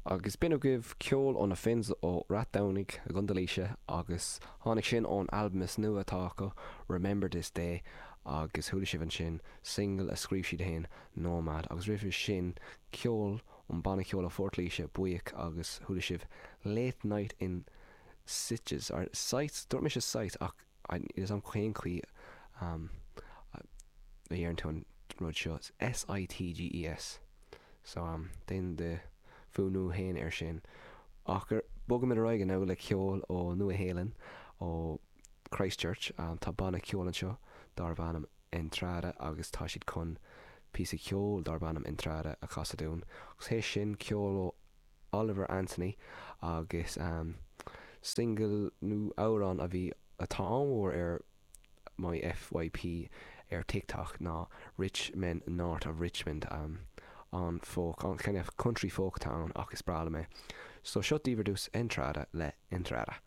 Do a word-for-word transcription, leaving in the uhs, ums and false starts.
Agus b'in agaibh ceol ó na Finns ó Rath Domhnaigh i gContae Laoise agus tháinig sin ón albam is nua atá acu, Remember This Day, agus chuala sibh ansin single a scríobh siad féin, Nomad, agus roimhe sin ceol ón banna ceoil ó Phort Laoise, Buíoch, agus chuala sibh Late Night in Sitges, or Sites, dúirt mise Sites ach níl a fhios agam cén chaoi a dheireann tú an rud seo, S-I-T-G-E-S. So déan do fuaimniú féin air sin. Ach bogaimid ar aghaidh now le ceol ó Nua Shéalainn, ó Christchurch. Tá banna ceoil anseo darb ainm Entrada agus tá siad chun píosa ceoil darb ainm Entrada a chasadh dúinn. Agus théis sin ceol ó Oliver Anthony agus single nó amhrán a bhí atá an-mhór ar my F Y P ar TikTok ná Rich Men North of Richmond, an folk, an kind of country folk atá ann ach is breá liom é. So seo daoibh ar dtús Entrada le Entrada.